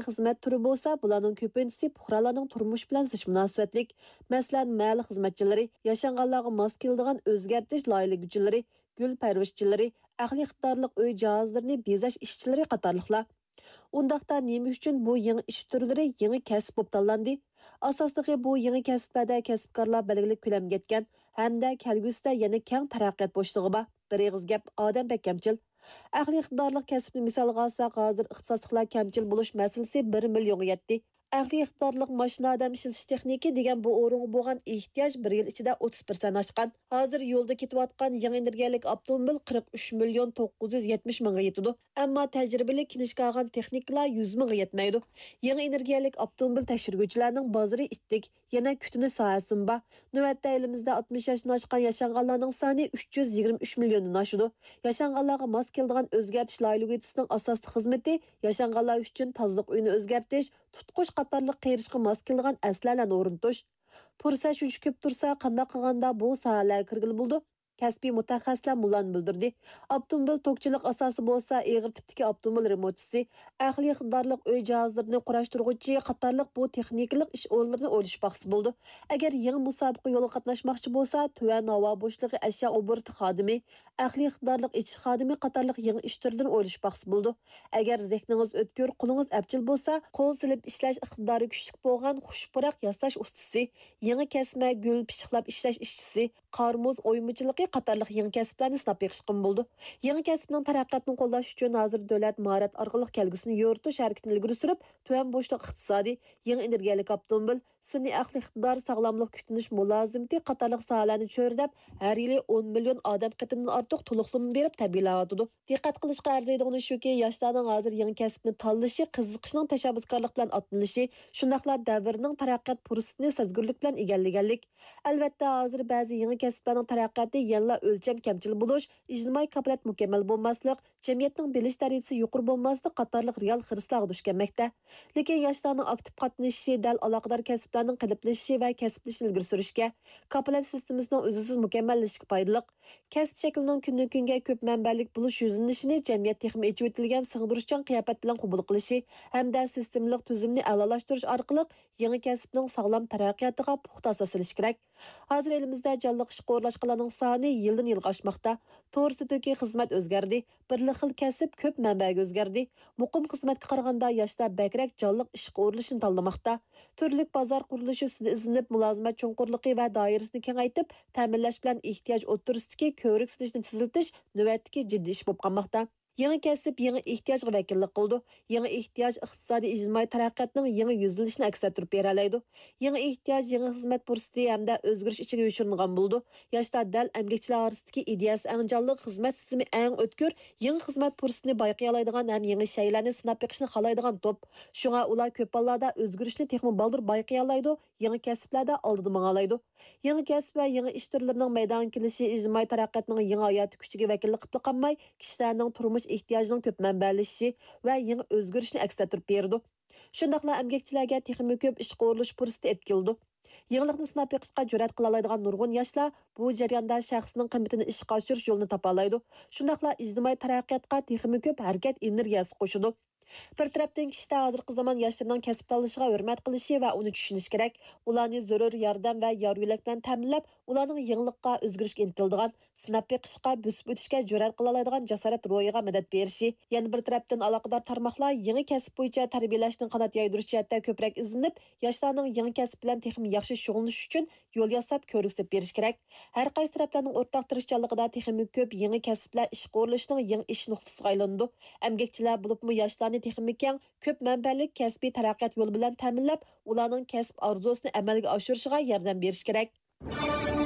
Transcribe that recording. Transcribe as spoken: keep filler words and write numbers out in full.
خىزمەت تۈرى بولسا، بۇلارنىڭ كۆپىنچىسى پۇقرالارنىڭ تۇرمۇشى بىلەن زىچ مۇناسىۋەتلىك. مەسىلەن، مەھەللە خىزمەتچىلىرى، ياشانغانلارغا ماس كېلىدىغان ئۆزگەرتىش لايىھەلىگۈچىلىرى، گۈل پەرۋىشچىلىرى، ئەقلىي ئىقتىدارلىق ئۆي جاھازلىرىنى بېزەش ئىشچىلىرى قاتارلىقلار. ئۇنداقتا نېمە ئۈچۈن بۇ يېڭى ئىش تۈرلىرى يېڭى كەسىپ بولۇپ تاللاندى؟ ئاساسلىقى بۇ يېڭى كەسىپلەردە كەسىپكارلار بەلگىلىك كۆلەمگە يەتكەن ھەمدە كەلگۈسىدە يەنە كەڭ تەرەققىيات بوشلۇقى بار. بىر ئېغىز گەپ، ئادەم بەك كەمچىل. ئەقلىي ئىقتىدارلىق كەسىپنى مىسالغا ئالساق، ھازىر ئىختىساسلىقلار كەمچىل بولۇش مەسىلىسى بىر مىليونغا يەتتى. ئەقلىي ئىقتىدارلىق ماشىنا ئادەم ئىشلىتىش تېخنىكى دېگەن بۇ ئورۇنغا بولغان ئېھتىياج بىر يىل ئىچىدە ئوتتۇز پىرسەنت ئاشقان. ھازىر يولدا كېتىۋاتقان يېڭى ئېنېرگىيەلىك ئاپتوموبىل قىرىق ئۈچ مىليون توققۇز يۈز يەتمىش مىڭغا يېتىدۇ. ئەمما تەجرىبىلىك كىنىشكا ئالغان تېخنىكلار يۈز مىڭغا يەتمەيدۇ. يېڭى ئېنېرگىيەلىك ئاپتوموبىل تەكشۈرگۈچىلەرنىڭ بازىرى ئىتتىك، يەنە كۈتۈنۈش ساھەسىمۇ بار. نۆۋەتتە ئېلىمىزدە ئاتمىش ياشتىن ئاشقان ياشانغانلارنىڭ سانى ئۈچ يۈز يىگىرمە ئۈچ مىليوندىن ئاشىدۇ. ياشانغانلارغا ماس كېلىدىغان ئۆزگەرتىش لايىھەلىگۈچىسىنىڭ ئاساسلىق خىزمىتى ياشانغانلار ئۈچۈن تازىلىق ئۆيىنى ئۆزگەرتىش، تۇتقۇچ قاتارلىق قېرىشقا ماس كېلىدىغان ئەسلىھەلەرنى ئورنىتىش. پۇرسەت شۇنچە كۆپ تۇرسا، قانداق قىلغاندا بۇ ساھەلەرگە كىرگىلى بولىدۇ؟ كەسپىي مۇتەخەسسىسلەر مۇنۇلارنى بىلدۈردى: ئاپتوموبىل توكچىلىق ئاساسى بولسا، ئېغىر تىپتىكى ئاپتوموبىل رېمونتچىسى، ئەقلىي ئىقتىدارلىق ئۆي جاھازلىرىنى قۇراشتۇرغۇچى قاتارلىق بۇ تېخنىكىلىق ئىش ئورۇنلىرىنى ئويلىشىپ باقسا بولىدۇ. ئەگەر يېڭى مۇسابىقە يولىغا قاتناشماقچى بولسا، تۆۋەن ھاۋا بوشلۇقى ئەشيا ئوبوروتى خادىمى، ئەقلىي ئىقتىدارلىق ئېچىش خادىمى قاتارلىق يېڭى ئىش تۈرلىرىنى ئويلىشىپ باقسا بولىدۇ. ئەگەر زېھنىڭىز ئۆتكۈر، قولىڭىز ئەپچىل بولسا، قول سېلىپ ئىشلەش ئىقتىدارى كۈچلۈك بولغان خۇش پۇراق ياساش ئۇستىسى، يېڭى كەسمە گۈل پىششىقلاپ ئىشلەش ئىشچىسى، قار-مۇز ئويمىچىلىقى قاتارلىق يېڭى كەسىپلەرنى سىناپ بېقىشقىمۇ بولىدۇ. يېڭى كەسىپنىڭ تەرەققىياتىنى قوللاش ئۈچۈن ھازىر دۆلەت ماھارەت ئارقىلىق كەلگۈسىنى يورۇتۇش ھەرىكىتىنى ئىلگىرى سۈرۈپ، تۆۋەن بوشلۇق ئىقتىسادى، يېڭى ئېنېرگىيەلىك ئاپتوموبىل، سۈنئىي ئەقلىي ئىقتىدار، ساغلاملىق كۈتۈنۈش مۇلازىمىتى قاتارلىق ساھەلەرنى چۆرىدەپ، ھەر يىلى ئون مىليون ئادەم قېتىمدىن ئارتۇق تولۇقلىما بېرىپ تەربىيەلەۋاتىدۇ. دىققەت قىلىشقا ئەرزىيدىغىنى شۇكى، ياشلارنىڭ ھازىر يېڭى كەسىپنى تاللىشى، قىزىقىشىنىڭ تەشەببۇسكارلىق بىلەن ئاتلىنىشى، شۇنداقلا دەۋرنىڭ تەرەققىيات پۇرسىتىنى سەزگۈرلۈك بىلەن ئىگىلىگەنلىك. ئەلۋەتتە، ھازىر بەزى يېڭى كەسىپلەرنىڭ تەرەققىياتى يەنىلا ئۆلچەم كەمچىل بولۇش، ئىجتىمائىي كاپالەت مۇكەممەل بولماسلىق، جەمئىيەتنىڭ بىلىش دەرىجىسى يۇقىرى بولماسلىق قاتارلىق رېئال خىرىسلارغا دۇچ كەلمەكتە. لېكىن ياشلارنىڭ ئاكتىپ قاتنىشىشى دەل ئالاقىدار كەسىپلەرنىڭ قېلىپلىشىشى ۋە كەسىپلىشىشىنى ئىلگىرى سۈرۈشكە، كاپالەت سىستېمىسىنىڭ ئۈزلۈكسىز مۇكەممەللىشىشىگە پايدىلىق. كەسىپ شەكلىنىڭ كۈندىن-كۈنگە كۆپ مەنبەلىك بولۇش يۈزلىنىشىنى جەمئىيەت تېخىمۇ ئېچىۋېتىلگەن سىڭدۈرۈشچان قىياپەت بىلەن قوبۇل قىلىشى ھەمدە سىستېمىلىق تۈزۈمنى ئەلالاشتۇرۇش ئارقىلىق يېڭى كەسىپنىڭ ساغلام تەرەققىياتىغا پۇختا ئاساس سېلىش كېرەك. ھازىر ئېلىمىزدە جانلىق ئىشقا ئورۇنلاشقانلارنىڭ سانى يىلدىن-يىلغا ئاشماقتا. تور سىرتىدىكى خىزمەت ئۆزگەردى. بىرلا خىل كەسىپ كۆپ مەنبەگە ئۆزگەردى. مۇقىم خىزمەتكە قارىغاندا ياشلار بەكرەك جانلىق ئىشقا ئورۇنلىشىشنى تاللىماقتا. تۈرلۈك بازار قۇرۇلۇشى ئۈستىدە ئىزدىنىپ، مۇلازىمەت چوڭقۇرلۇقى ۋە دائىرىسىنى كېڭەيتىپ، تەمىنلەش بىلەن ئېھتىياج ئوتتۇرىسىدىكى كۆۋرۈك سېلىشنى تېزلىتىش نۆۋەتتىكى جىددىي ئىش بولۇپ قالماقتا. يېڭى كەسىپ يېڭى ئېھتىياجغا ۋەكىللىك قىلىدۇ. يېڭى ئېھتىياج ئىقتىسادىي ئىجتىمائىي تەرەققىياتنىڭ يېڭى يۈزلىنىشىنى ئەكس ئەتتۈرۈپ بېرەلەيدۇ. يېڭى ئېھتىياج يېڭى خىزمەت پۇرسىتى ھەمدە ئۆزگىرىش ئىچىگە يوشۇرۇنغان بولىدۇ. ياشلار دەل ئەمگەكچىلەر ئارىسىدىكى ئىدىيەسى ئەڭ جانلىق، خىزمەت سىستېمى ئەڭ ئۆتكۈر، يېڭى خىزمەت پۇرسىتىنى بايقىيالايدىغان ھەم يېڭى شەيئىلەرنى سىناپ بېقىشنى خالايدىغان توپ. شۇڭا ئۇلار كۆپ ھاللاردا ئۆزگىرىشنى تېخىمۇ بالدۇر بايقىيالايدۇ، يېڭى كەسىپلەردە ئالدىدا ماڭالايدۇ. يېڭى كەسىپ ۋە يېڭى ئىش تۈرلىرىنىڭ مەيدانغا كېلىشى ئىجتىمائىي تەرەققىياتنىڭ يېڭى ھاياتىي كۈچىگە ۋەكىللىك قىلىپلا قالماي، كىشىلەرنىڭ تۇرمۇش ئېھتىياجىنىڭ كۆپ مەنبەلىشىشى ۋە يېڭى ئۆزگىرىشىنى ئەكس ئەتتۈرۈپ بېرىدۇ. شۇنداقلا ئەمگەكچىلەرگە تېخىمۇ كۆپ ئىشقا ئورۇنلىشىش پۇرسىتى ئېلىپ كېلىدۇ. يېڭىلىقنى سىناپ بېقىشقا جۈرئەت قىلالايدىغان نۇرغۇن ياشلار بۇ جەرياندا شەخسىنىڭ قىممىتىنى ئىشقا ئاشۇرۇش يولىنى تاپالايدۇ. شۇنداقلا ئىجتىمائىي تەرەققىياتقا تېخىمۇ كۆپ ھەرىكەت ئېنېرگىيەسى قوشىدۇ. بىر تەرەپتىن، كىشىلەر ھازىرقى زامان ياشلىرىنىڭ كەسىپ تاللىشىغا ھۆرمەت قىلىشى ۋە ئۇنى چۈشىنىشى كېرەك. ئۇلارنى زۆرۈر ياردەم ۋە يار-يۆلەك بىلەن تەمىنلەپ، ئۇلارنىڭ يېڭىلىققا، ئۆزگىرىشكە ئىنتىلىدىغان، سىناپ بېقىشقا، بۆسۈپ ئۆتۈشكە جۈرئەت قىلالايدىغان جاسارەت روھىغا مەدەت بېرىشى. يەنە بىر تەرەپتىن، ئالاقىدار تارماقلار يېڭى كەسىپ بويىچە تەربىيەلەشنىڭ قانات يايدۇرۇش جەھەتتە كۆپرەك ئىزدىنىپ، ياشلارنىڭ يېڭى كەسىپ بىلەن تېخىمۇ ياخشى شۇغۇللىنىشى ئۈچۈن يول ياساپ، كۆۋرۈك سېلىپ بېرىش كېرەك. ھەر قايسى تەرەپلەرنىڭ ئورتاق تىرىشچانلىقىدا تېخىمۇ كۆپ يېڭى كەسىپلەر ئىشقا ئورۇنلىشىشنىڭ يېڭى ئىش نۇقتىسىغا ئايلىنىدۇ. ئەمگەكچىلەر، بولۇپمۇ ياشلارنى تېخىمۇ كەڭ، كۆپ مەنبەلىك كەسپىي تەرەققىيات يولى بىلەن تەمىنلەپ، ئۇلارنىڭ كەسىپ ئارزۇسىنى ئەمەلگە ئاشۇرۇشىغا ياردەم بېرىش كېرەك.